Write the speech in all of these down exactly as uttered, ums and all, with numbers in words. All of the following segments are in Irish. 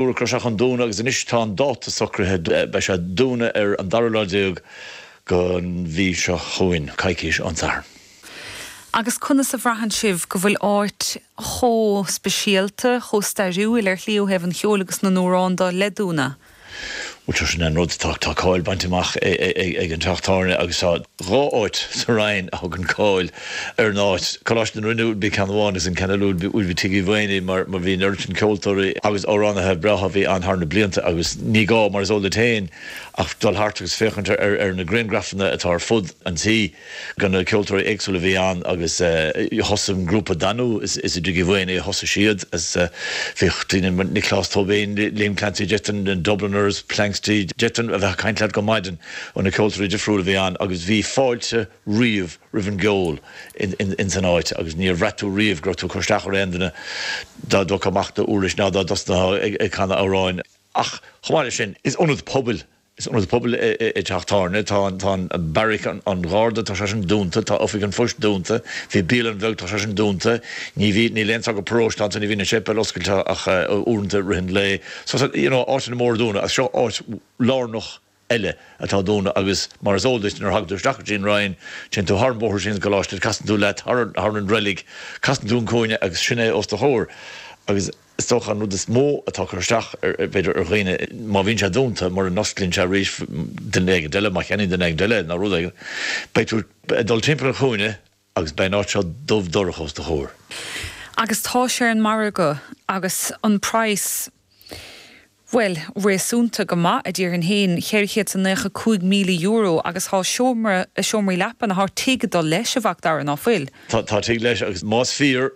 Dúradh go raibh sé chun dúnadh agus anois tá an dáta socraithe, beidh sé ag dúnadh ar an dara lá déag den mhí seo chugainn, coicís ón Satharn. Agus conas a bhraitheann sibh go bhfuil áit chomh speisialta, chomh stairiúil ar shlí ó thaobh an cheoil agus na n-amhrán de le dúnadh? Bhuel tá sin an rud, tá tá cáil bainte amach ag an teach tábhairne agus tá dhá áit sa Rinn a thugann cáil ar an áit. Coláiste na Rinne would be ceann amháin agus an ceann eile would be Tigh Uí Mhaonaigh mar mar bhí an oiread sin ceoltóirí agus amhránaithe breátha a bhí ann thar na blianta agus ní gá mar is eol duit féin ach dul thart agus féachaint ar ar na grianghrafanna atá ar fud an tí de na ceoltóirí éagsúla a bhí ann agus thosaigh an grúpa Danú is i dTigh Uí Mhaonaigh a thosaigh siad is bhíodh daoine mar Nioclás Tóibín, Liam Clancy, d'fhéadfainn na Dubliners, Planxty, d'fhéadfainn a bheith ag caint leat go maidin ó na ceoltóirí difriúla a bhí ann agus bhí fáilte riamh roimh an gceol in san áit agus níor bhraith tú riamh go raibh tú ag cur isteach ar aon duine dá dtógfá amach d'uirlis ná dá dtosnófá ag canadh amhráin. Ach chomh maith leis sin, is ionad pobail, is ionad pobail é teach tábhairne. Tá an, tá an beairic an Gharda, tá sé sin dúnta, tá oifig an phoist dúnta, bhí bialann bheag, tá sé sin dúnta, ní bhí, níl aon socrú paróiste ann, ní bhíonn an séipéal oscailte ach uaireanta i rith an lae. So, you know, áiteanna móra dúnadh agus seo áit lárnach eile atá dúnadh agus mar is eol duit nuair a thagann tú isteach go dtí an Rinn, téann tú thar an bóthar sin sa gcoláiste, casann tú leat thar an reilig, casann tú an cúinne agus sin é os do chomhair agus is dócha an rud is mó atá ag cur isteach ar, b'fhéidir, ar dhaoine, má bhíonn sé dúnta, mura n-osclaíonn sé arís duine éigin eile, má cheannaíonn duine éigin eile nó rud éigin, beidh tú ag dul timpeall an chúinne agus beidh an áit seo dubh dorcha os do chomhair. Agus tá sé ar an margadh agus an praghas, bhuel, réasúnta go maith, a déarfainn féin, cheithre chéad is a naocha cúig míle euro agus tá seomra, seomraí leapa, nó tá tigh ag dul leis, a Mhac Dara, ná fuil? Tá, tá tigh leis agus más fíor,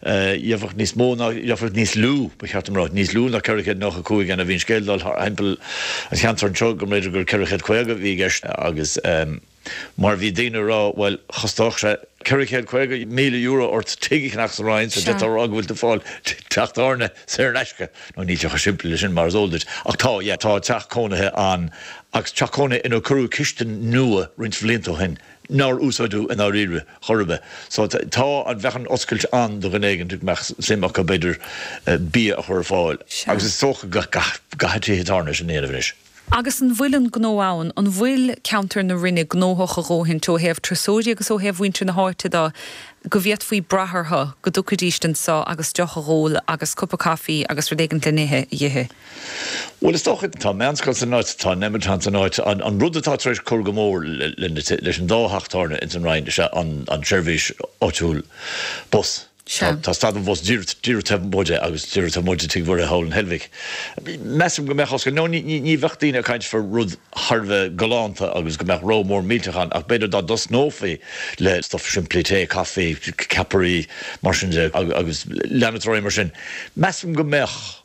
gheobhadh níos mó ná, gheobhadh níos lú, ba cheart dom a rá, níos lú ná ceithre chéad nócha cúig ann. Bhí an scéal ag dul thar thimpeall an cheantair anseo go mb'fhéidir gur ceithre chéad caoga a bhí i gceist agus, Mar bhí daoine ag rá, bhuel, chostódh sé ceithre chéad caoga míle euro ort tigh a cheannach sa Rinn, so d'fhéadfá a rá go bhfuil tú ag fáil teach tábhairne saor in aisce. Nó níl sé chomh simplí leis sin, mar is eol duit. Ach tá, yeah, tá teach cónaithe ann, agus teach cónaithe inar cuireadh cistin nua roinnt bhlianta ó shin, nár úsáideadh i ndáiríre chor ar bith. So tá, an bheadh an oscailt ann do dhuine éigin go mbeadh suim acu, b'fhéidir, bia a chur ar fáil. Agus is dócha go gcaithfidh tithe tábhairne sin a dhéanamh anois. Agus an bhfuil an gnó ann? An bhfuil ceantar na Rinne gnóthach a dhóthaint ó thaobh turasóirí agus ó thaobh mhuintir na háite de go bhféadfaí brath orthu go dtiocfaidís anso agus deoch a dh'ól agus cupa caife agus rud éigint le n-ithe a dh'ithe? Bhuel, is dócha, tá meánscoil san áit, tá an Nemeton san áit. An rud atá tar éis cur go mór leis an dá theach tábhairne ins an Rinn is ea an tseirbhís áitiúil bus. Sea. Tá stad an bhus díreach taobh amuigh de agus díreach taobh amuigh de Tigh Mhuire thall in Heilbhic. Measaim go mbeadh oscailt, nó ní bheadh daoine ag caint fá rud thar a bheith galánta agus go mbeadh rogha mór millteach ann ach b'fhéidir dá dtosnófaí le stuff simplí, tae, caife, ceapairí, mar sin de agus leanúint ar aghaidh mar sin. Measaim go mbeadh.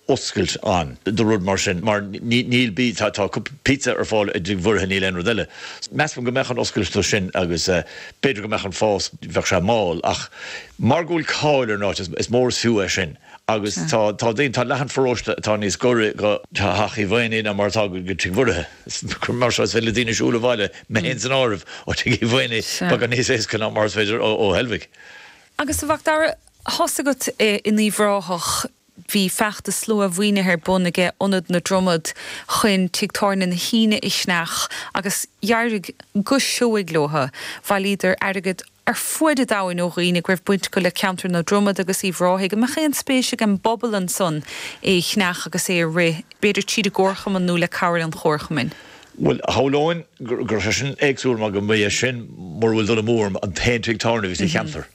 oscailt ann do rud mar sin mar níl bí tá tá pizza ar fáil i dTigh Mhuire níl aon rud eile. Measaim go mbeadh an oscailt do sin agus b'fhéidir go mbeadh an fás bheadh sé mall ach mar go bhfuil cáil ar an áit is mór is fiú é sin agus tá tá daoine tá leath an pharóiste atá níos gaire go Teach Uí Mhaonaigh ná mar atá go Tigh Mhuire. Mar seo is féidir le daoine siúl abhaile, mé féin san áireamh, ó Tigh Uí Mhaonaigh beagán níos éasca ná mar is féidir ó ó Heilbhic. Agus a Mhac Dara, tá's agat in Uíbh Ráthach Bhí feachtas slua-mhaoinithe ar bun aige Ionad na Dromad chun Tigh Tábhairne na hAoine a cheannach agus d'éirigh go seoigh leo. Bhailíodar airgead ar fuaid an domhain ó dhaoine go raibh baint acu le ceantar na Dromad agus Uíbh Ráthaigh. An mbeadh aon spéis ag an bpobal ansan é a cheannach agus é a rith, b'fhéidir tríd an gcomharchumann nó le cabhair an chomharchumainn? Bhuel, shamhlóinn go raibh sé sin éagsúil mar go mba é sin, mura bhfuil dul amú orm, an t-aon tigh tábhairne a bhí sa cheantar.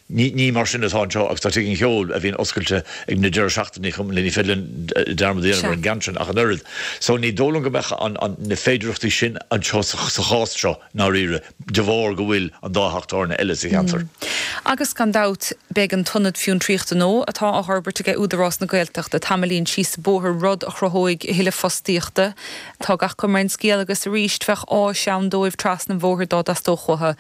Ní mar sin atá anseo agus tá Tigh an Cheoil, a bhíonn oscailte ag na deireadh seachtainí chomh maith, ní féidir linn dearmad a dhéanamh ar an gceann sin ach an oiread. So ní dóigh liom go mbeadh na féidearthachtaí sin anseo sa chás seo i ndáiríre de bharr go bhfuil an dá theach tábhairne eile sa cheantar. Agus gan dabht beidh an t-ionad fiontraíochta nua atá á fhorbairt aige Údarás na Gaeltachta tamaillín síos an bóthar, rud a chruthóidh a thuilleadh fostaíochta. Tá gach cuma ar an scéal agus arís bheadh áis ann dóibh trasna an bhóthair dá dteastódh uathu.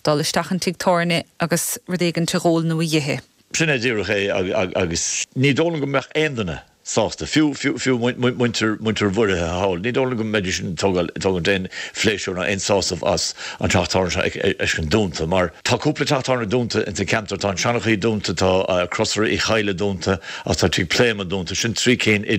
dul isteach an tigh tábhairne agus rud éigin a dh'ól nó a dh'ithe. Sin é díreach é agus ní dóigh liom go mbeadh aon duine sásta fiú fiú muintir muintir Mhuirithe thall. Ní dóigh liom go mbeidís ag tógáil aon phléisiúr ná aon sásamh as an teach tábhairne seo a fheiscint dúnta, mar tá cúpla teach tábhairne dúnta insa cheantar, tá an Seanchaí dúnta, tá Crosaire Uí Chadhla dúnta, agus tá Tigh Pléama dúnta, sin trí cinn idir